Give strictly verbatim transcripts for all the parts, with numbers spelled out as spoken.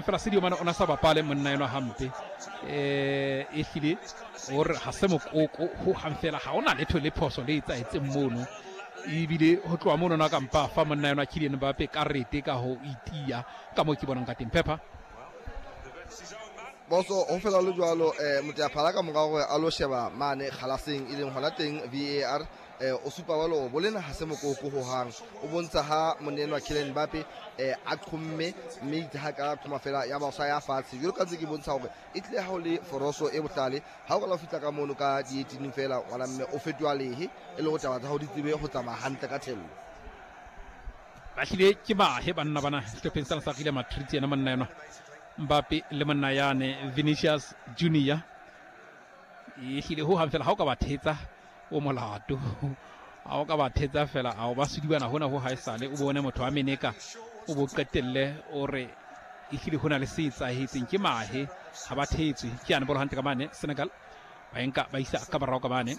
Fela Sadio Mane o na sa bapale monna enwa hampe, eh ehlile o re ha se mokoko ho hang fela, ha ona letho le phoso le etsahetseng mono. Ebile ho tloha mono na ka mpa fa monna enwa Kylian Mbappe karete ka ho itia ka moo ke bonang ka teng. Pepper Boso ho fela le jwalo, eh moteyaphala ka mora hore a lo sheba mane kgalaseng e leng hona teng V A R, eh o supa jwalo bolena ha se mokoko ho hang, o bontsha ha monna enwa Kylian Mbappe eh a qhomme mme itse ha ka qhoma fela ya ba sa ya fatshe. Jwalo ka ntse ke bontsha hore e tlile ha o le foroso e bohlale, ha o ka fihla ka mono ka di eighteen fela ngwana mme o fetoha lehe e le ho taba tsa hao di tsebe ho tsamaya hantle ka thello. Ba hlile ke bahe banna bana sehlopheng sena sa Real Madrid, yena monna enwa Mbappe le monna yane Vinicius Junior. E hlile ho hang fela ha o ka ba thetsa o molato, ha o ka ba thetsa fela ha o ba sudibana hona ho haesale o bone motho a meneka o bo qetelle o re e hlile hona le se etsahetseng. Ke mahe ha ba thetswe. Ke yane bolo hantle ka mane Senegal ba enka ba isa ka borao ka mane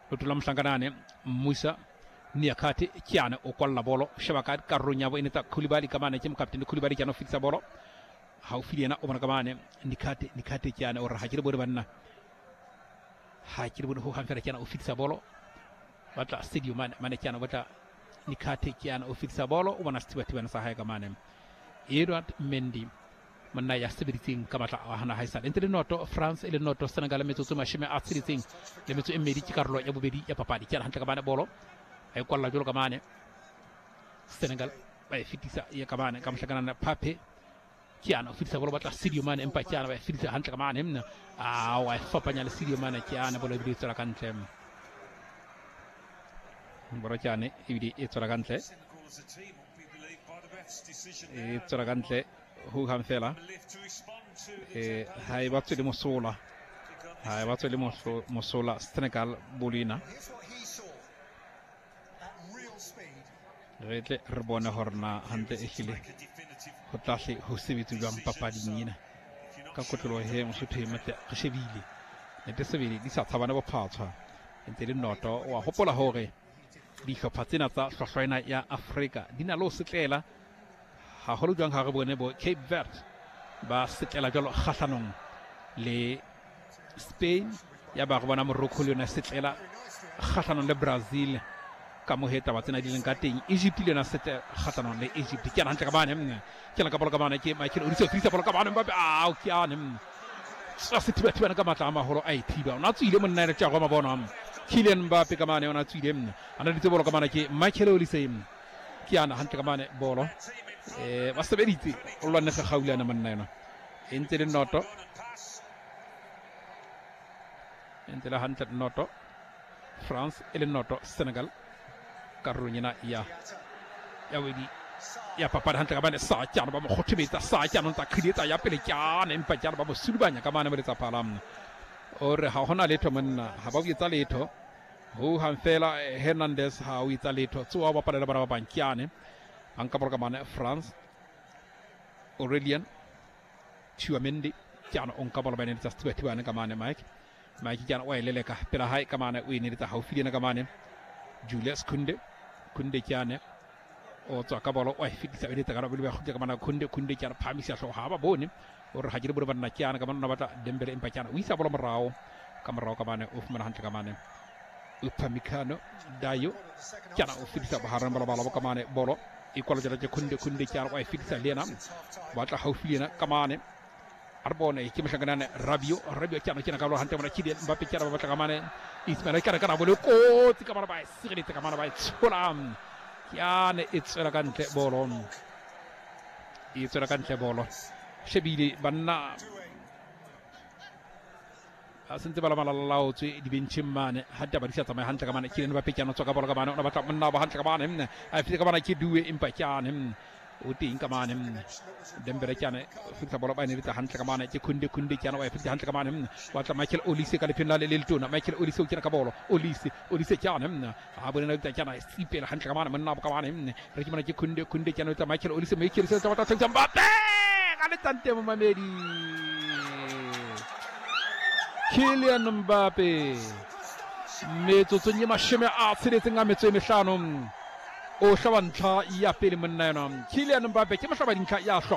Lotola mohlankanane Musa Niakate ke yane o kwalla bolo, sheba ka karolong ya bo ene tsa Koulibaly ka mane, ke mokaptene Koulibaly ke yana o fetisa bolo haufi le yena o bona ka mane Niakate, Niakate ke yane o re ha ke le bone banna, ha ke le bone ho hang fela, ke yana o fetisa bolo batla Sadio Mane, mane ke yana o batla Niakate ke yana o fetisa bolo o bona sethibathibana sa hae ka mane Edouard Mendy monna ya sebeditseng ka matla a hana haesale. Ntse le noto France e le noto Senegal metsotso mashome a tsheletseng le metso e mmedi ke karolo ya bobedi ya papadi. Ke yana hantle ka mane bolo a e kwalla jwalo ka mane Senegal ba e fetisa ya ka mane ka mohlakanana Pape ke yana o fetisa bolo batla Sadio Mane, empa ke yana ba e fetisa hantle ka mane mna a wa e fapanya le Sadio Mane, ke yana bolo ebile e tswela ka ntle, bolo ke yane ebile e tswela ka ntle, e tswela ka ntle ho hang fela. Eh ha e ba tswele mosola, ha e ba tswele mosola Senegal bolina. Re tle re bone hore na hantle e hlile ho tlahle ho sebetse jwang papading ena ka kotloloho he Mosotho e motle re shebile nete sebele di sa tshabane bophatshwa ntse le noto. Wa hopola hore dihlopha tsena tsa hlwahlwa ena ya Afrika di na le ho setlela haholo jwang ha re bone bo Cape Verde ba setlela jwalo kgahlanong le Spain, ya ba re bona Morocco le yona setlela kgahlanong le Brazil ka mohe taba tsena di leng ka teng. Egypt le yona sete kgahlanong le Egypt. Ke yana hantle ka mane, ke yana ka bolo ka mane ke Michael Olise o fetisa bolo ka mane Mbappe, ao ke yane tswa sethibathibane ka matla a maholo a e thiba. O na tswile monna ene Thiago Mabona, Kylian Mbappe ka mane o na tswile, a na ditse bolo ka mane ke Michael Olise, ke yana hantle ka mane bolo eh ba sebeditse o lwanne gaulana monna ena e ntse le noto, e ntse le hantle noto France e le noto Senegal karolong ena ya ya bobedi ya papadi hantle ka mane sa kyano ba mo kgothobetsa sa kyano ntsa qhidietsa ya pele kyane, empa kyano ba mo sudubanya ka mane moletsa phala o re ha hona letho monna, ha ba o etsa letho ho hang fela. Hernandez ha o etsa letho tsoa ba palela bana ba bang kyane ba nka bolo ka mane France Aurelien Tchouameni kyano o nka bolo ba neletsa sethibathibane ka mane Mike Mike kyano o e leleka pela hae ka mane o e neletsa haufi le yena ka mane Julius Kunde, Kunde kyane o tswa ka bolo o e fetisa o eletsa ka bolo ba kgutla ka mana Kunde, Kunde kyane phamisa hlooho ha ba bone o re ha ke le bone banna kyane ka mane o batla Dembele, empa kyane o isa bolo morao ka morao ka mane o fumana hantle ka mane Upamecano Dayo kyane o fetisa bohareng ba lebala bo ka mane bolo e kwala jalo ke Kunde, Kunde kyane o e fetisa le yena batla haufi le yena ka mane a re bone ke mohlakanane Rabiot, Rabiot kyane kena ka bolo hantle mona Kylian Mbappe kyane ba batla ka mane Ismail kyane ka bolo kotsi ka mane ba e sireletsa ka mane ba e tshola kyane e tswela ka ntle bolo, e tswela ka ntle bolo. Shebile banna a sentse ba la malalaotswe dibentšheng mane ha taba di sa tsamaye hantle ka mane Kylian Mbappe kyane o tswa ka bolo ka mane o na batla monna ba hantle ka mane a fitse ka mane ke Due empa kyane o teng ka mane Dembele kyane fitsa bolo ba ne letsa hantle ka mane ke Kunde, Kunde kyane o e fitsa hantle ka mane wa tla Michael Olise ka lepheng la le le letona Michael Olise o kena ka bolo Olise, Olise kyane ha bone na kyane sipela hantle ka mane monna ba ka mane re ke mona ke Kunde, Kunde kyane o tla Michael Olise, Michael Olise o tla batla Mbappe ka letsante momamedi Kylian Mbappe metsotsong e mashome a tsheletseng a metso e mehlano O hlaba ntlha ya pele monna yona Kylian Mbappe, ke mohlaba dintlha ya hlwa.